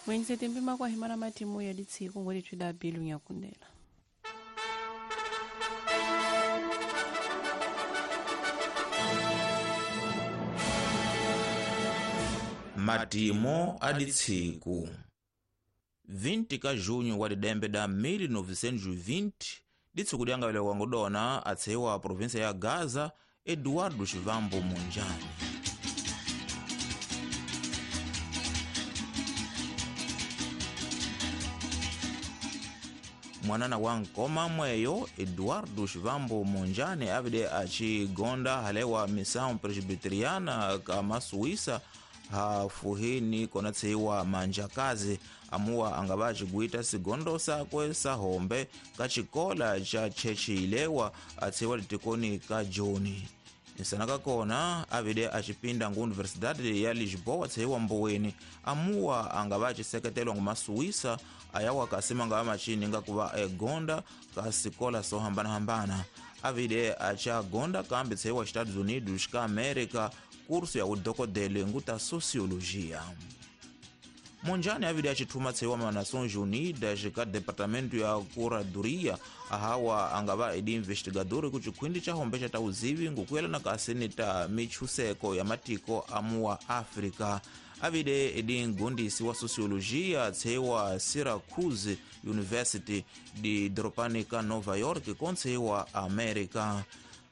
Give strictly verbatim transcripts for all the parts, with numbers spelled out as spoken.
Mwenze mpima kwa himara matimu ya ditsiku ngwele twida bilu nyakundela. Matimo a ditsiku vinte ka junho wa didembe da mil novecentos e vinte, ditsiku dyangawele wangudona atseiwa província ya Gaza, Eduardo Chivambo Mondlane. Mwanana wa nkoma mweyo Eduardo Chivambo Mondlane avide achigonda halewa missão presbiteriana kama Suíça hafuhini konatseiwa manjakazi amuwa angava achiguita sigondo sakwe sahombe kachikola cha chechiilewa atseiwa litikoni ka Joni. Nsanaka kona avide achipinda ngu Universidade ya Lisboa tseiwa mboweni amuwa angava achiseketelwa ngumasuíça ayawa kasima ngava machininga kuva egonda kasikola sohambanahambana. Avide achagonda kambi tseiwa Estados Unidos ka América kurso ya udokodele nguta sociologia. Mondlane avide achithuma tseiwa ma Nações Unidas ka departamento ya curadoria ahawa angava edi investigador ku chikhwindi cha hombe cha tauzivi ngukuyelana kasini ta michuseko ya matiko amuwa Africa. Avide edi ngundisi wa sociologia tseiwa Syracuse University di dropani ka Nova York kontseiwa America.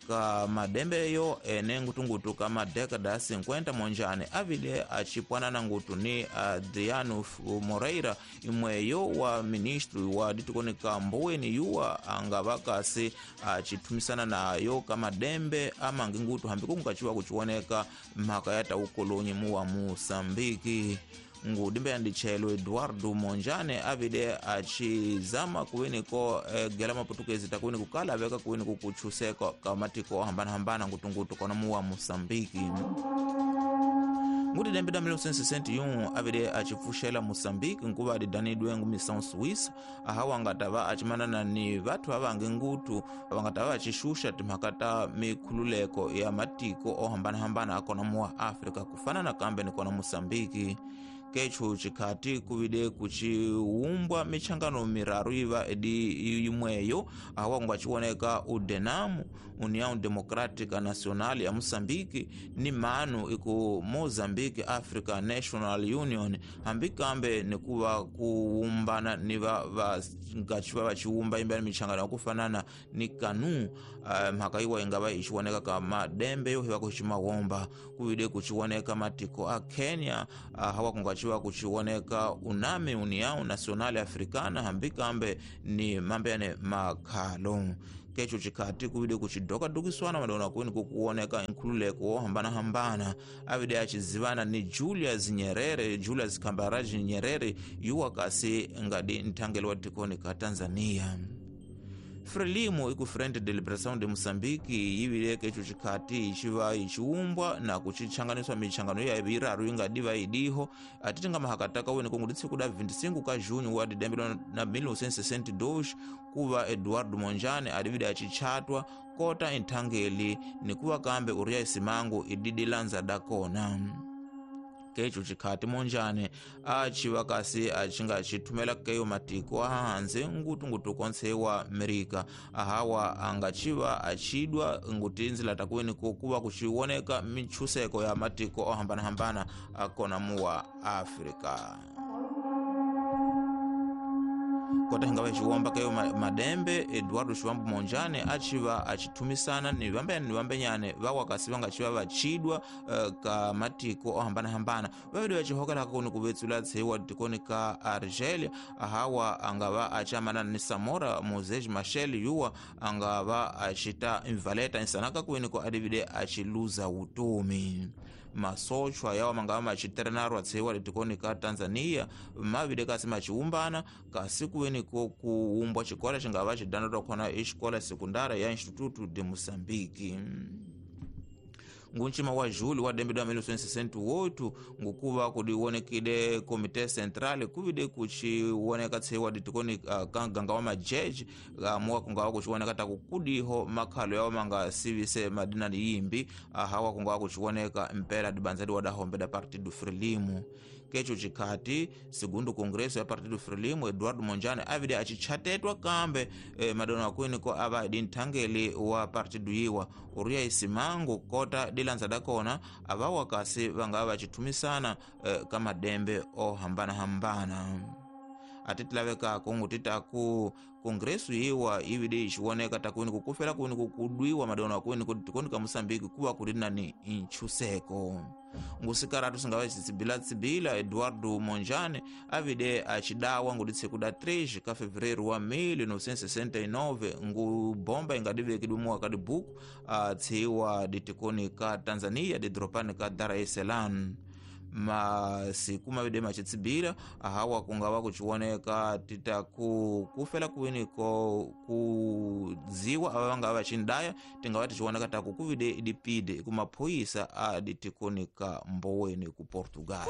Ka madembeyo ene ngutungutu ka madekada cinquenta Mondlane avide achipwanana ngutu ni Adriano Moreira imweyo wa ministro wa ditikoni ka mboweni yuwa angava kasi achithumisana nayo ka madembe amangi ngutu hambi kungachiwa kuchioneka mhaka ya taukolonyi muwa Moçambique. Ngudimbe yandichelo Eduardo Mondlane avide achizama kuweniko eh, gela maputukezi takuweni kukala aveka kuweni kukuchuseka kamatiko hambana-hambana ngutungutu kona muwa Moçambique. Nguti dembe da mil novecentos e sessenta e um avide achipfuxela Moçambique nkuva adidanidwe ngu missão Suíça ahawa angatava achimanana ni vathu avangi ngutu vangatava achixuxa timhaka ta mikhululeko ya matiko ohambanahambana akona muwa Africa kufana na kambe ni kona Moçambique. Kechu chikhati kuvide kuchiumbwa michangano miraru iva edi imweyo awa ngachioneka udenamu União Democrática Nacional ya Moçambique ni manu iku Mozambique Africa National Union hambi kambe nikuva kuumbana ni va ngachiva vachiumba imba michangano kufanana ni kanu uh, mhaka iwa ingava ichioneka kama dembe yo hiva kuchimawomba kuvide kuchioneka matiko a Kenya uh, hawa kungachiwa kuchioneka unami União Nacional Africana hambi kambe ni mambe makhalo. Kecho chikhati kuvide kuchidokadukiswana madona kuweni kukuoneka nkhululeko wohambanahambana avide achizivana ni Julius Nyerere Julius Kambarage Nyerere yuwa kasi ngadi nthangelo wa tikoni ka Tanzania. Frelimo iku Frente de Liberação de Moçambique yivile kecho chikhati ichiva ichiumbwa na kuchichanganiswa michangano ya iraru ingadiva idiho atiti nga mahakataka weni kongo ditsiku da vinte e cinco ka junho wa didembe na mil novecentos e sessenta e dois kuva Eduardo Mondlane adivide achichatwa kota inthangeli nikuva kambe uria isimangu ididilanza dakona. Kecho chikhati Mondlane achiva kasi achinga chithumela keyo matiko ahanze ngutungutu konse wa Amerika ahawa angachiva achidwa ngutinzila takuweni kuva kuchioneka michuseko ya matiko ohambanahambana akona muwa Africa. Kota hingawa chiwomba keyo madembe Eduardo Chivambo Mondlane achiva achithumisana ni vambe ni vambenyane vawakasi vangachiva vachidwa uh, ka matiko ohambanahambana vavidi vachihokela kuni kuvetsula tseiwa tikoni ka Argelia ahawa angava achamana ni Samora Moses Machel yuwa angava achita invaleta insanaka kuweni ko adivide achiluza utomi. Masochwa yawa mangava machiterenarwa tseiwa litikoni ka Tanzania mavide kasi machiumbana kasi kuweni ko kuumbwa chikola chingava chidanatwa khona exikola sekundara ya Instituto de Moçambique. Ngunchima wa julho wa dembe da mil novecentos e sessenta e oito ngukuva kudionekile Comité Central kuvide kuchioneka tseiwa ditikoni uh, kanganga wa majeji amuwa uh, kungawa kuchioneka takukudiho makhalo yawo manga sivise madina yimbi ahawa uh, kungawa kuchioneka mpela dibanzadi wadahombe da Partido Frelimo. Kecho chikhati segundo congresso ya Partido Frelimo, Eduardo Monjane avide achichatetwa kambe eh, madona wakwiniko ava di nthangeli wa partido yiwa uriya isimangu kota dilanza dakona avawa kasi vangava vachithumisana eh, ka madembe ohambanahambana. Atitilavekako ngutitaku kongresu yiwa ivide ixiwoneka takwini kukufela kwini kukudwiwa madona wakwini kuti tikoni ka Moçambique kuva kuri nani intchuseko. Ngusikaratu singava xitsibila-tsibila Eduardo Monjane avide acidawa ngutitsekuda três ka fevereiro wa mil novecentos e sessenta e nove ngubomba ingadivekidwe muwa dibuku atshiwa ditikoni ka Tanzania didropani ka Dar es Salaam. Masiku mavide macitsibila ahawa kungava kuchiwoneka titaku kufela kwiniko kudziwa ava vangava vachindaya tingava tichiwoneka taku kuvide idipide kumaphoyisa a ditikoni ka Mboweni ku Portugal.